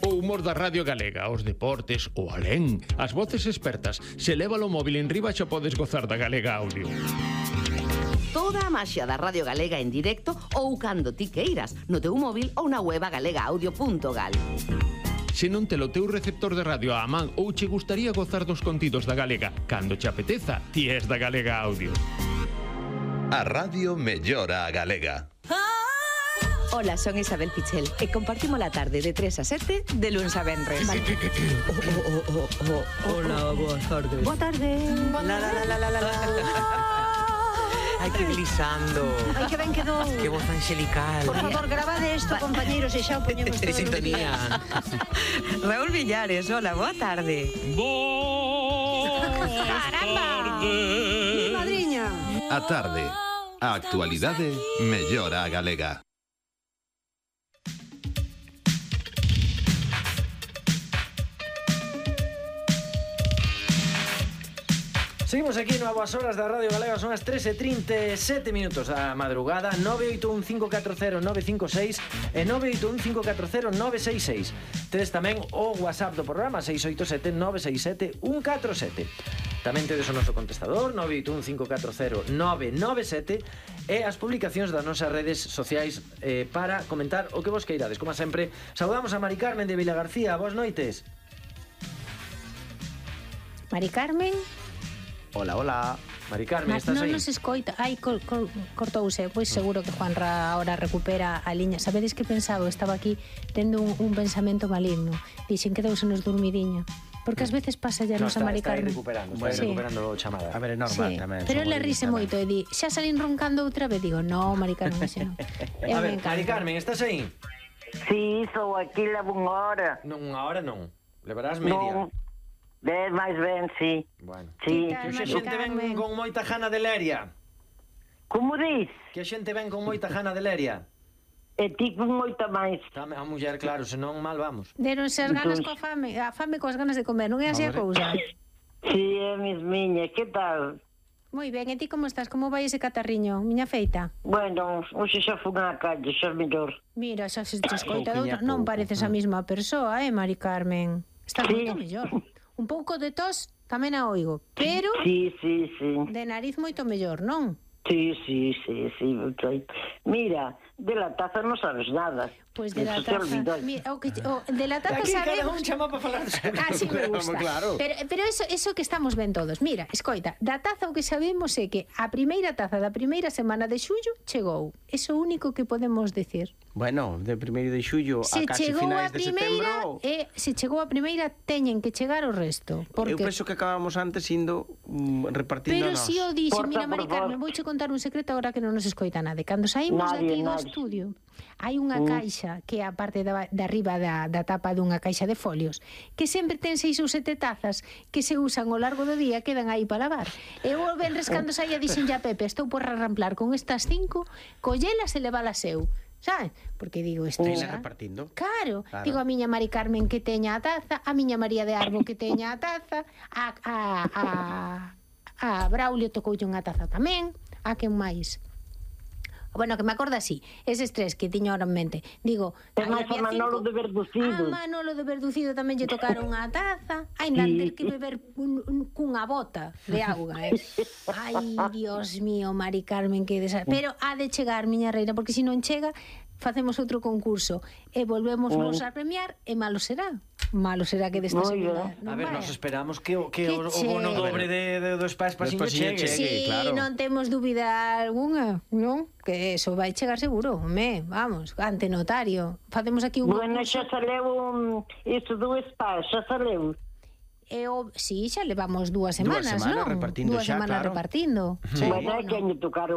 O humor da Radio Galega, os deportes, o alén, as voces expertas. Se leva o móvil en riba xa podes gozar da Galega Audio. Toda a maxia da Radio Galega en directo ou cando ti queiras, no teu móvil ou na web galegaaudio.gal. Se non te lo teu receptor de radio á man ou che gustaría gozar dos contidos da Galega, cando che apeteza, ti és da Galega Audio. A radio mellora a Galega. Hola, son Isabel Pichel e compartimos la tarde de 3 a 7 de lunes a venres. Hola, boas tardes. Boa tarde. Ai, que glisando. Ai, que ben quedou. Que voz angelical. Por favor, grabade isto, compañeros, e xa o poñemos De todo. sintonía. Raúl Villares, hola, boa tarde. Caramba. Mi madriña. A tarde. A actualidade mellora a Galega. Seguimos aquí no Boas Horas da Radio Galega. Son as 13:37 minutos da madrugada. 981-540-956 e 981-540-966. Tedes tamén o WhatsApp do programa 687-967-147. Tamén tedes o noso contestador 981-540-997 e as publicacións das nosas redes sociais para comentar o que vos queirades. Como sempre, saudamos a Mari Carmen de Vilagarcía. Boas noites. Mari Carmen. Hola, hola. Mari Carmen, estás aí? Non nos escoita. Ai, cortouse. Pois seguro que Juanra ahora recupera a liña. Sabedes que pensaba? Estaba aquí tendo un pensamento maligno. Dixen que deusenos dormidiña. Porque ás veces pasa ya nosa Mari Carmen. Está recuperando chamada. A ver, é normal tamén. Pero ele rise moito e di, xa salín roncando outra vez. Digo, no, Mari Carmen, xa non. A ver, Mari Carmen, estás aí? Sí, sou aquí, levo unha hora. Non, unha hora non. Levarás media. Non, ves máis ben, sí. Bueno. Sí. Que xa xente ven con moita jana de leria. Como dis? Que a xente ven con moita jana de leria. E ti con moita máis. A muller, claro, senón mal vamos. Deronse as ganas coa fame, a fame coas ganas de comer, non é así a cousa? Sí, é mismiña, que tal? Moi ben, e ti como estás? Como vai ese catarriño, miña feita? Bueno, hoxe xa fui na calle, xa mellor. Mira, xa se te escoita de outra, non pareces a mesma persoa, Mari Carmen? Estás moito mellor. Un pouco de tos tamén a oigo, pero sí. de nariz moito mellor, non? Sí. Mira, de la taza non sabes nada. Pois de la taza, mira, de la taza aquí sabemos. Cada un chama para falar de así me gusta. Claro. Pero eso que estamos ben todos. Mira, escoita, da taza o que sabemos é que a primeira taza da primeira semana de xullo chegou. Eso é o único que podemos decir. Bueno, de 1 de xullo a casi finais de setembro. Se chegou a primeira, teñen que chegar o resto. Eu penso que acabamos antes indo repartindo pero nós. si o dixo, mira, Mari Carmen, vouche contar un secreto agora que non nos escoita nada. Cando saímos daqui do estudio, hai unha caixa que é a parte de arriba da tapa dunha caixa de folios, que sempre ten 6 ou 7 tazas que se usan ao largo do día, quedan aí para lavar. E o venres cando saía dixen ya Pepe, estou por arramplar con estas 5, collelas e levalas eu. Sabes? Porque digo isto. Tela repartindo. Claro. Digo a miña Mari Carmen que teña a taza, a miña María de Arbo que teña a taza, a Braulio tocoulle unha taza tamén, a quen máis? Bueno, que me acorda así, eses tres que tiño ahora en mente. Digo, ten máis a Manolo de Verducido. A Manolo de Verducido tamén lle tocaron a taza. Ainda ter que beber cunha bota de auga, Ai, Dios mío, Mari Carmen, que desastre. Pero ha de chegar, miña reina, porque se non chega, facemos outro concurso e volvemos nos a premiar e malo será. Malo será que desta segunda. A ver, nos esperamos que o bono doble dos pais pasiño chegue. Sí, claro. Non temos dúbida alguna, non? Que eso vai chegar seguro, vamos, ante notario. Facemos aquí un bueno, xa saleu isto do spa, xa saleu. Sí, xa levamos 2 semanas, non? Repartindo 2 semanas claro. repartindo. Sí. Bueno, é que me tocaron